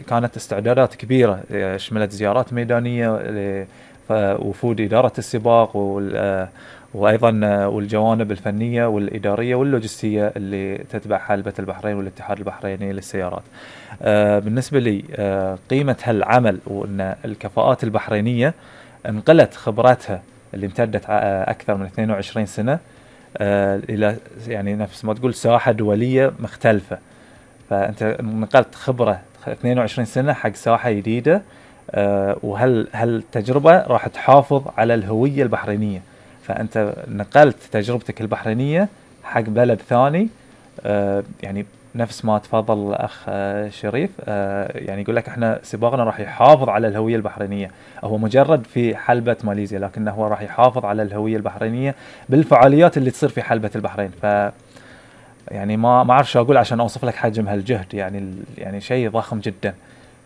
كانت استعدادات كبيرة، شملت زيارات ميدانية لوفود إدارة السباق وأيضا والجوانب الفنية والإدارية واللوجستية اللي تتبع حلبة البحرين والاتحاد البحريني للسيارات. بالنسبة لي قيمة هالعمل وأن الكفاءات البحرينية انقلت خبراتها اللي امتدت أكثر من 22 سنة إلى يعني نفس ما تقول ساحة دولية مختلفة. فأنت نقلت خبرة 22 سنة حق ساحة جديدة، هالتجربة راح تحافظ على الهوية البحرينية. فأنت نقلت تجربتك البحرينية حق بلد ثاني. يعني نفس ما تفضل الأخ شريف، يعني يقول لك احنا سباقنا راح يحافظ على الهوية البحرينية. هو مجرد في حلبة ماليزيا، لكنه هو راح يحافظ على الهوية البحرينية بالفعاليات اللي تصير في حلبة البحرين. يعني ما أعرف شو أقول عشان أوصف لك حجم هالجهد. يعني شيء ضخم جدا.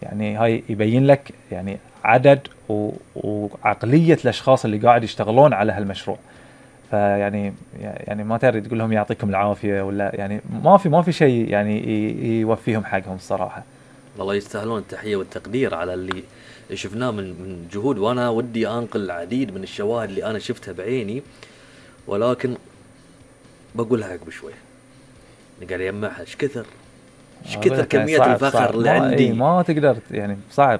يعني هاي يبين لك يعني عدد وعقلية الأشخاص اللي قاعد يشتغلون على هالمشروع. فيعني ما تريد تقول لهم يعطيكم العافية ولا يعني ما في شيء يعني يوفيهم حقهم الصراحة. والله يستاهلون التحية والتقدير على اللي شفناه من جهود. وأنا ودي أنقل العديد من الشواهد اللي أنا شفتها بعيني، ولكن بقولها عقب شوي. قاعد يجمعها ايش كثر كمية صعب الفخر صعب اللي عندي. ما تقدر يعني صعب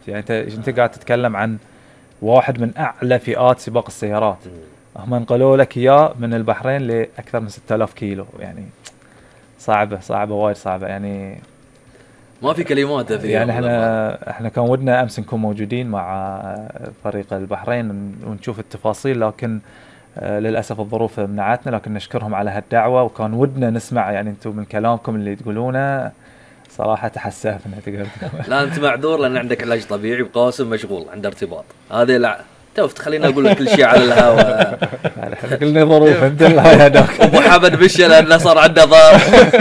يعني انت قاعد تتكلم عن واحد من اعلى فئات سباق السيارات. هم انقلوا لك اياه من البحرين لاكثر من 6000 كيلو. يعني صعبة وايد صعبة. يعني ما في كلمات يعني احنا كان ودنا امس نكون موجودين مع فريق البحرين ونشوف التفاصيل، لكن للأسف الظروف منعتنا. لكن نشكرهم على هالدعوة، وكان ودنا نسمع يعني انتم من كلامكم اللي تقولونه صراحة تحسفنا. تقدر لا انت معذور لان عندك علاج طبيعي، وقاسم مشغول عنده ارتباط. هذه لا توفت خلينا اقول لك كل شيء على الهواء. احنا كلنا ظروف انت هذاك. ابو حمد بشر لانه صار عنده ظرف.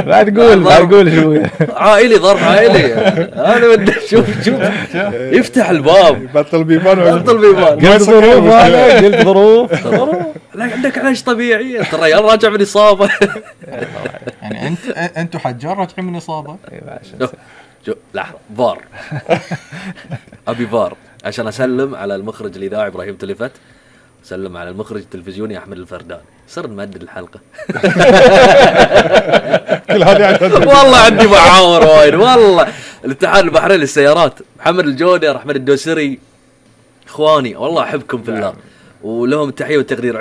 لا تقول شو عائلي، ظرف عائلي. انا بدي شوف يفتح الباب. بطل بيبان قلت ظروف. لا عندك علاج طبيعي. انت الرجال راجع من اصابه. يعني انتوا حجار راجعين من اصابه. لحظه فار. ابي فار عشان اسلم على المخرج الاذاعي ابراهيم تلفت، سلم على المخرج التلفزيوني احمد الفردان. صرت مؤدي الحلقه. كل هذه والله عندي معاور وايد. والله الاتحاد البحريني للسيارات، محمد الجودر، احمد الدوسري، اخواني والله احبكم في الله، ولهم التحيه والتقدير.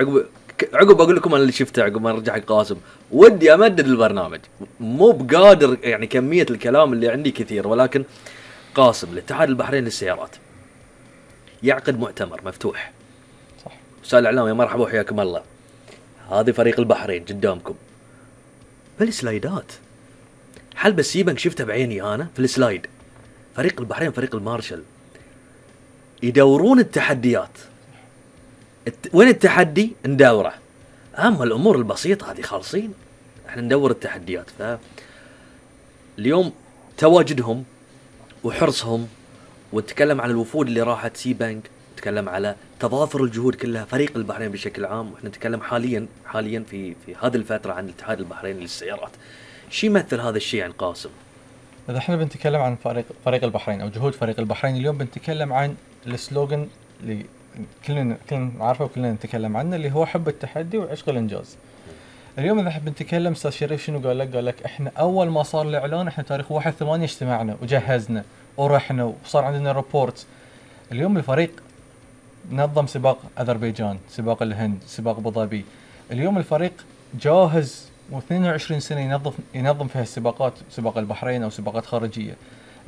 عقب اقول لكم انا اللي شفته عقب ما رجع قاسم. ودي امدد البرنامج، مو بقادر يعني كميه الكلام اللي عندي كثير، ولكن قاسم الاتحاد البحريني للسيارات يعقد مؤتمر مفتوح. صح. وسائل الاعلام يا مرحبا وحياكم الله. هذه فريق البحرين قدامكم بالسلايدات. حلبة سيبنك شفتها بعيني انا في السلايد. فريق البحرين فريق المارشل يدورون التحديات. وين التحدي ندوره. اما الامور البسيطه هذه خالصين، احنا ندور التحديات. اليوم تواجدهم وحرصهم، ونتكلم عن الوفود اللي راحت سي بانك، نتكلم على تضافر الجهود كلها فريق البحرين بشكل عام. واحنا نتكلم حاليا في هذه الفتره عن الاتحاد البحريني للسيارات. شو يمثل هذا الشيء عن قاسم؟ اذا احنا بنتكلم عن فريق البحرين او جهود فريق البحرين اليوم، بنتكلم عن السلوغن اللي كلنا عارفه وكلنا نتكلم عنه، اللي هو حب التحدي وعشق الانجاز. اليوم اذا بنتكلم استاذ شريف شنو قال لك احنا اول ما صار الاعلان احنا تاريخ 1/8 اجتمعنا وجهزنا ورحنا وصار عندنا ريبورت. اليوم الفريق نظم سباق اذربيجان، سباق الهند، سباق ابو ظبي. اليوم الفريق جاهز و22 سنه ينظم في هالسباقات، سباق البحرين او سباقات خارجيه.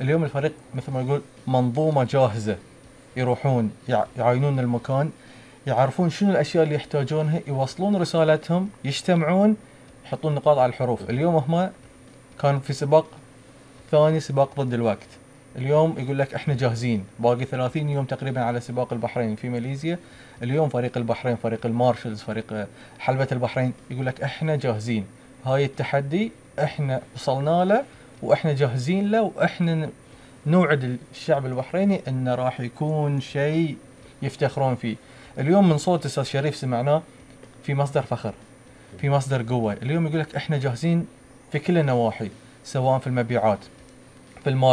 اليوم الفريق مثل ما يقول منظومه جاهزه، يروحون يعاينون المكان، يعرفون شنو الاشياء اللي يحتاجونها، يوصلون رسالتهم، يجتمعون، يحطون نقاط على الحروف. اليوم هم كان في سباق ثاني، سباق ضد الوقت. اليوم يقول لك احنا جاهزين، باقي 30 يوم تقريبا على سباق البحرين في ماليزيا. اليوم فريق البحرين، فريق المارشلز، فريق حلبة البحرين يقول لك احنا جاهزين، هاي التحدي احنا وصلنا له واحنا جاهزين له، واحنا نوعد الشعب البحريني انه راح يكون شيء يفتخرون فيه. اليوم من صوت استاذ شريف سمعناه في مصدر فخر، في مصدر قوة. اليوم يقول لك احنا جاهزين في كل النواحي، سواء في المبيعات، في بالمارش